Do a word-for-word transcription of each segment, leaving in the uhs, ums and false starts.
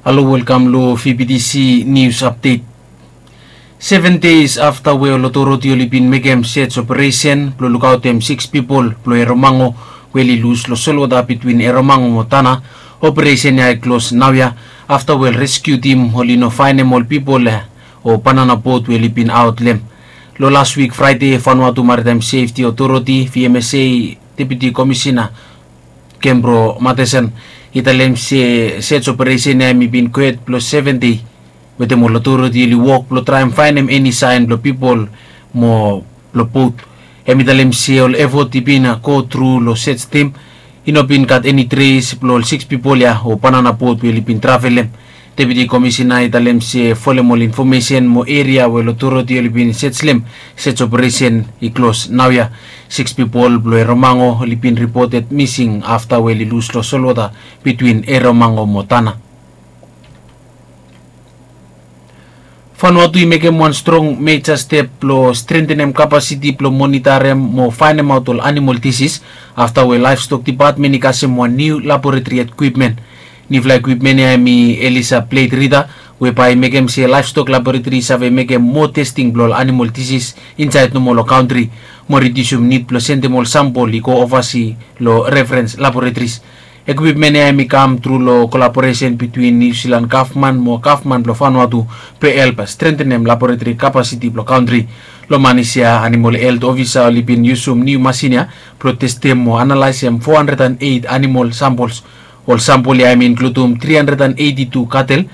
Halo, welkam lo V B T C News Update. Seven deis afta we ol otoriti oli bin mekem search operesen blo lukaotem siks pipol blo Eromango we oli lus lo solwota bitwin Eromango mo Tanna, operesen ya i klos naoia afta we ol reskiu tim oli no faenem ol pipol ya o banana bot we oli bin aot lo hem. Lo las wik Fraede, Vanuatu Maritime Safety Authority, V M S A, Deputi Komisina Kembro Matheson i talem se search operesen ya hemi bin gohed blo seven dei wetem ol otoriti oli wok blo traem faenem eni saen blo pipol mo blo bot. Hemi talem se ol efot i bin go tru lo search tim, i no bin gat eni tres blo ol siks pipol ya o banana bot we oli bin travelem. Deputi Komisina i talem se folem ol infomesen mo eria we ol otoriti oli bin search lo hem, search operesen i klos naoia. Siks pipol blo Eromango oli bin ripoted mising afta we oli lus lo solwota bitwin Eromango mo Tanna. Vanuatu i mekem wan strong meja step blo strentenem kapasiti blo monitarem mo faenemaot ol animol disis afta we Laevstok Dipatmen i kasem wan niu laboretri ekwipmen. Niufala ekwipmen ya hemi Elisa Blade Reader, we bae i mekem se Laevstok Laboretri i save mekem moa testing blo ol animol disis insaed nomo lo kantri, mo ridiusum nid blo sendem ol sampol i go ovasi lo referens laboretris. Ekwipmen ya hemi kam tru lo kolaboresen bitwin Niu Silan gavman mo gavman blo Vanuatu, blo help strentenem laboretri kapasiti blo kantri. Lo manis ya, animol helt ofisa oli bin yusum niu masin ya blo testem mo analaesem fo handred an eit animol sampols. Ol sampol ya hemi inkludum tri handred an eiti tu katel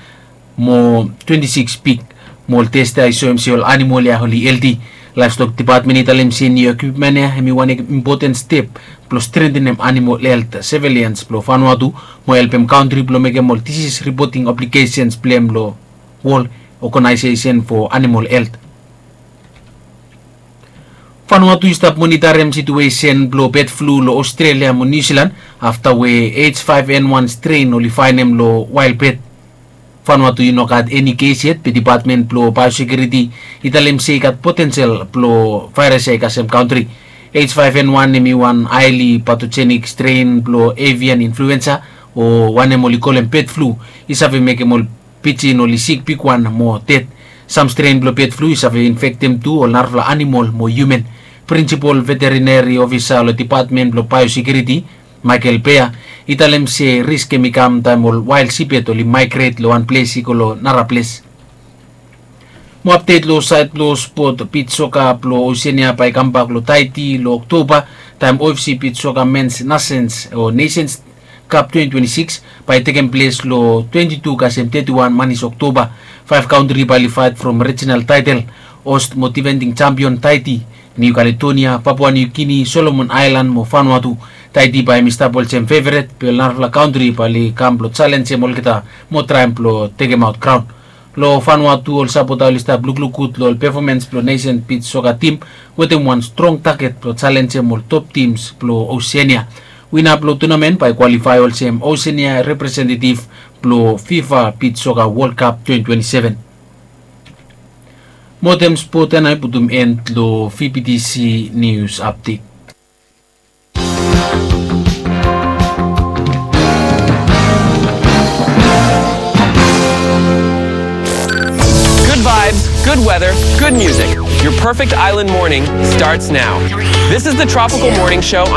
mo twenti siks pig, mo ol tes ya i soem se ol animol ya oli helti. Laevstok Dipatmen i talem se niu ekwipmen ya hemi wan impoten step blo strentenem animol helt sevilians blo Vanuatu mo helpem kantri blo mekem ol disis ripoting obligesen blo hem lo Wol Oganaesesen fo Animol Helt. Vanuatu i stap monitarem situesen blo bed flu lo Ostrelia mo Niu Silan afta we H five N one stren oli faenem lo wael bed. Vanuatu i no gat eni kes yet, be Dipatmen blo Biosekiuriti i talem se i gat potensel blo vaeras ya i kasem kantri. H five N one hemi wan haeli patojenik stren blo avian influensa, o wanem oli kolem bed flu, i save mekem ol pijin oli sik bigwan mo ded. Sam stren blo bed flu i save infektem tu ol narafala animol mo hiuman. Prinsipol veterineri ofisa lo Dipatmen blo Biosekiuriti, Michael Bea, i talem se risk hemi kam taem ol wael siped oli maegret lo wan ples i go lo nara ples. Mo apdet lo saed blo spot, bij soka blo Oseania bae i kambak lo Taiti lo Oktoba, taem O F C bij soka mens nasens o Nations Cup twenty twenty-six bae i tekem ples lo twenty-two kasem thirty-one manis Oktoba. Faef kantri bae oli faet from rijinal taetel, host mo difending jampion Taiti, Niu Kaledonia, Papua Niu Gini, Solomon Aelan mo Vanuatu. Taiti bae hemi stap olsem feveret, be ol narafala kantri bae oli kam blo jalenjem olgeta mo traem blo tekemaot kraon. Lo Vanuatu, ol sapota oli stap lukluk gud lo ol pefomans blo nesen bij soka tim wetem wan strong taget blo jalenjem ol top tims blo Oseania. Wina blo tunamen bae i kwalifae olsem Oseania representetif blo FIFA bij soka Wol Kap twenty twenty-seven. Mo wetem spot ya nao i putum en lo V B T C Nius Apdet. Good vibes, good weather, good music. Your perfect island morning starts now. This is the Tropical Morning Show on